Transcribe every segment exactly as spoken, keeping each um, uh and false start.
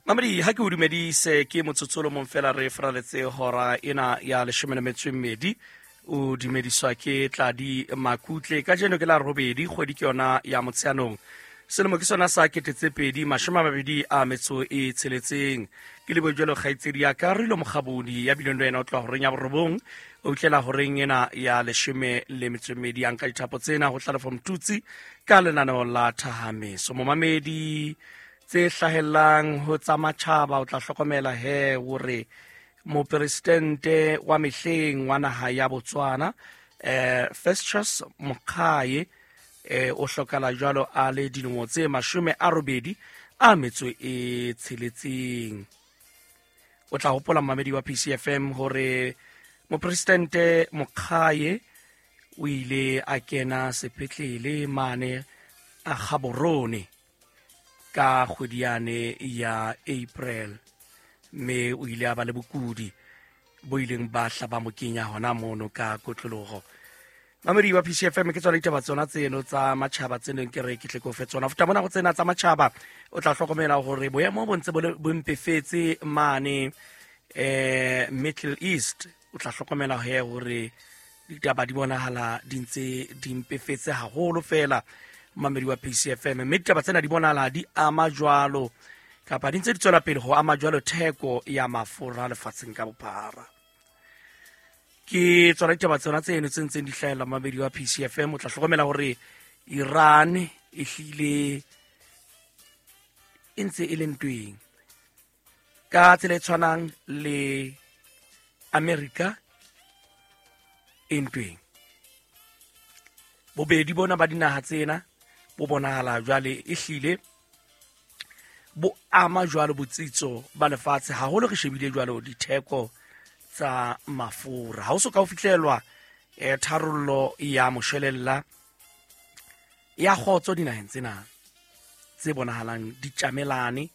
Mamedi, ha ke o dumedise, ke motsotso o le mong fela re faraletse hora ena ya leshome le metso e mmedi. O dumediswa ke Tladi Makutle. Kajeno ke la robedi, kgwedi ke yona ya Motsheanong, selemo ke sona sa kete tse pedi mashome a mabedi a metso e tsheletseng. Ke lebo jwalo kgaitsedi ya ka Rilo Mokgabodi ya bileng le wena o tloha horeng ya borobong o fihlela horeng ena ya leshome le metso e mmedi. Ya nka dithapo tsena ho Hlalefo Mtutsi ka lenaneo la Thahameso. Momamedi, tse hlahellang ho tsa matjhaba o tla hlokomela he hore mopresidente wa mehleng wa naha ya Botswana eh Festus Mogae eh o hlokala jwalo a le dilemo tse mashome a robedi a metso e tsheletseng. O tla hopola mamedi wa P C F M hore mopresidente Mogae o ile a kena sepetlele mane a Gaborone ka kgwedi yane ya April, mme o ile a ba le bokudi bo ileng ba hla ba mo kenya hona mono ka kotloloho. Mamedi wa P C F M, ke tsona ditaba tsona tseno tsa matjhaba tse neng ke re ke tle ke o fe tsona. Futa mona go tsena tsa matjhaba o tla hlokomela hore boemo bo ntse bo le- bo mpefetse mane eh Middle East. O tla hlokomela he hore ditaba di bonahala di ntse di mpefetse haholo fela, mamedi wa P C F M, mme ditaba tsena di bonahala di ama jwalo kapa di ntse di tswela pele ho ama jwalo theko ya mafura lefatsheng ka bophara. Ke tsona ditaba tsona tseno tse ntseng di hlahella mamedi wa P C F M. O tla hlokomela hore Iran e hlile e ntse e le ntweng ka tsela e tshwanang le America e ntweng. Bobedi bona ba dinaha tsena bo bonahala jwale e hlile bo ama jwalo botsitso ba lefatshe, haholo re shebile jwalo ditheko tsa mafura. Ha ho so ka ho fihlelwa eh, tharollo ya moshwelella ya kgotso dinaheng tsena tse bonahalang di tjamelane,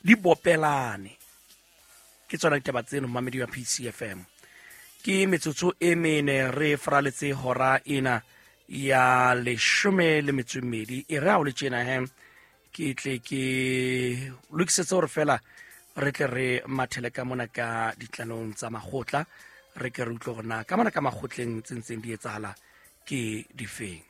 di bopelane. Ke tsona ditaba tseno mamedi wa P C F M. Ke metsotso e mene re faraletse hora ena ya leshome le metso e mmedi. E re ha o le tjena he, ke tle ke lokisetse hore fela re tle re mathele ka mona ka ditlanong tsa makgotla, re ke re utlwe hore na ka mona ka makgotleng tse ntseng di etsahala ke difeng.